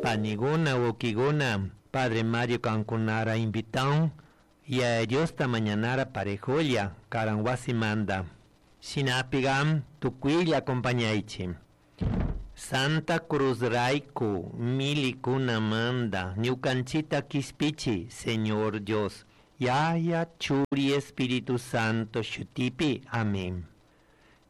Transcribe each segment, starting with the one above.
Paniguna, wawkikuna, Padre Mario kankunara invitan Yaya Diosta mañanara parejolla karan wasimanda. Shinapiga tukuylla acompañaichi. Santa Cruz rayku milikunamanda ñukanchita kishpichi Señor Dios. Yaya Churi Espíritu Santo shutipi. Amén.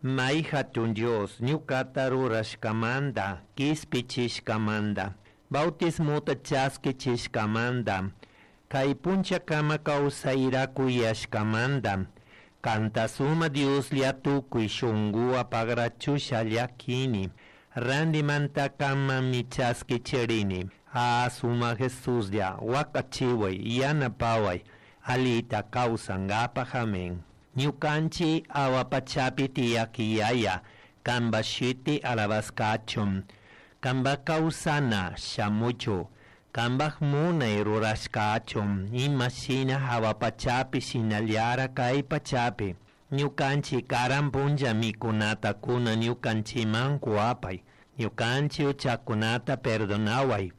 May hatun Dios ñukata rurashkamanta kishpichishkamanta bautismota chaskichishkamanta kay punchakama kawsayra kuyashkamanta kanta suma Dioslla tukuy shunkuwan pagrachusha llakini randimanta kanmanmi chaskichirini ah suma Jesuslla wakachiway yanapaway alita kawsankapaj amén. Ñukanchik awa pachapi tiyak Yaya, kanpak shuti alabashkachun, kanpak kawsana shamuchu, kanpak munay rurashkachun, imashina hawa pachapi shinallara kay pachapi. Ñukanchik karan punlla mikunata kuna ñukanchikman kuwapay, ñukanchik uchakunata perdonaway,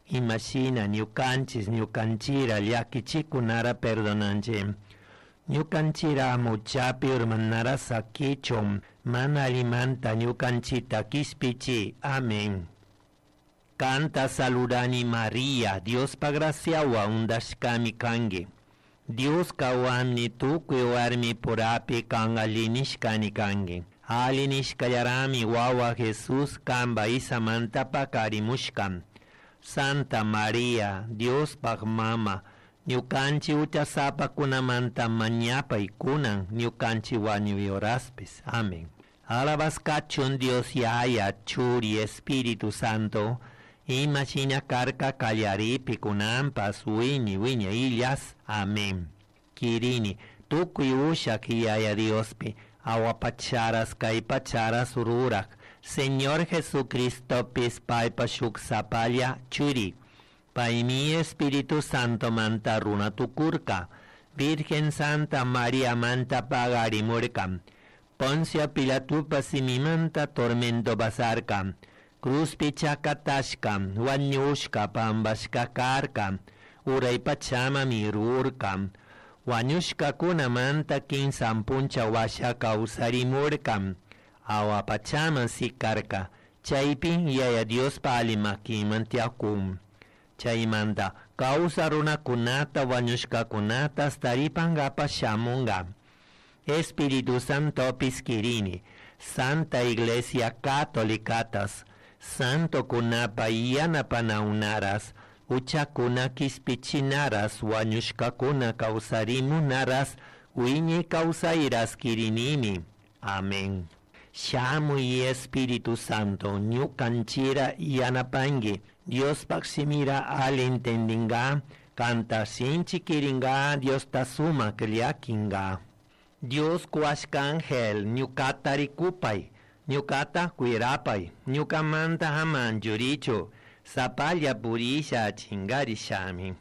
imashina ñukanchik ñukanchira llakichikunara perdonanchik. Ñukanchira muchapi urmanara sakichun, mana allimanta ñukanchita kishpichi. Amén. Kanta saludani Maria, Diospa graciawan undashkami kanki. Dioska huanmi tukuy warmi purapi kan alli kanki. Alli nishkallarami wawa Jesús kanpa isamanta pakarimushka. Santa Maria, Diospaj mama, ñukanchik huchasapakunamanta mañapay kunan ñukanchik wañuy horaspis. Amén. Alabashkachun Dios Yaya, Churi, Espíritu Santo, ima shina karka kallaripi kunanpas wiñay wiñayllas. Amén. Kirini, tukuy ushak Yaya Diospi, awa pacharas kay pacharas rurak, Señor Jesucristopis paypa shuk sapalla churi. Paymi Espíritu Santo manta runa tukurka, Virgen Santa María manta pagarimurka, Poncio Pilatupa simimanta tormento pasarka, Cruzpi chakatashka, wañushka pambashka karka, uray pachama mirurka, wañushkakunamanta kinsan puncha washa kawsarimurka, awa pachaman sikarka, chaypi Yaya Diospa ali makiman tiyakun. Chaymanta kawsa runakunata wañushkakunata taripankapa shamunka. Espíritu Santopis kirini, Santa Iglesia Catolicatas, Santo kunapa yanapanaunaras, uchakuna kishpichinaras, wañushkakuna kawsarimunaras, wiñay kawsayras kirinimi. Amén. Shamuy Espíritu Santo, ñukanchira yanapanki, Diospaj shimira ali entendinga, kanta sinchi kiringa, Diosta sumak llakinga. Dios kuashka ángel, ñukata rikupay, ñukata cuirapay, ñukamanta ama anchurichu, sapalla purisha chingarishami.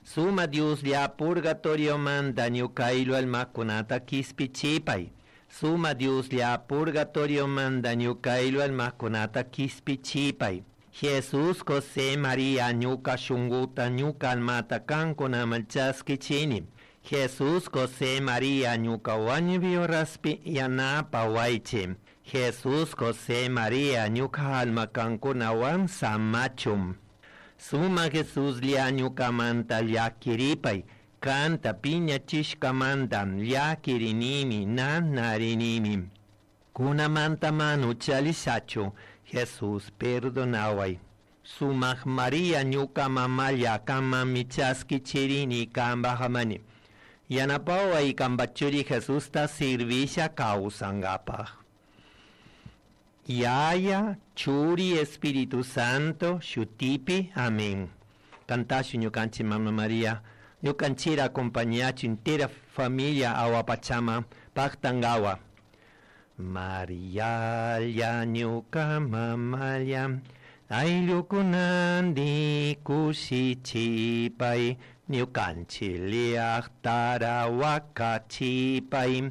Suma Dioslla purgatoriomanta ñuka ayllu almakunata kishpichipay. Suma Dioslla purgatoriomanta ñuka ayllu almakunata kishpichipay. Jesús José María ñuka shunkuta ñuka almata kankunaman chaskichini. Jesús José María ñuka wañuy horaspi yanapawaychi. Jesús José María ñuka alma kankunawan samachun. Suma Jesuslla ñukamanta llakiripay, kanta piñachishkamanta llakirinimi nanarinimi. Kunamanta mana uchallishachu, Jesús perdonaway. Sumak María ñuka mamalla kanmanmi chaskichirini kanpaj Yanapaway kanpa churi Jesusta sirvisha kawsankapaj. Yaya, Churi, Espíritu Santo, Shutipi, Amén. Cantashu ñukanchik Mama María, ñukanchira acompañachu entera familia awa pachama, paktangawa. Marialla ñuka mamalla, ayllukunandi kushichipay, ñukanchik llaktara wakachipay.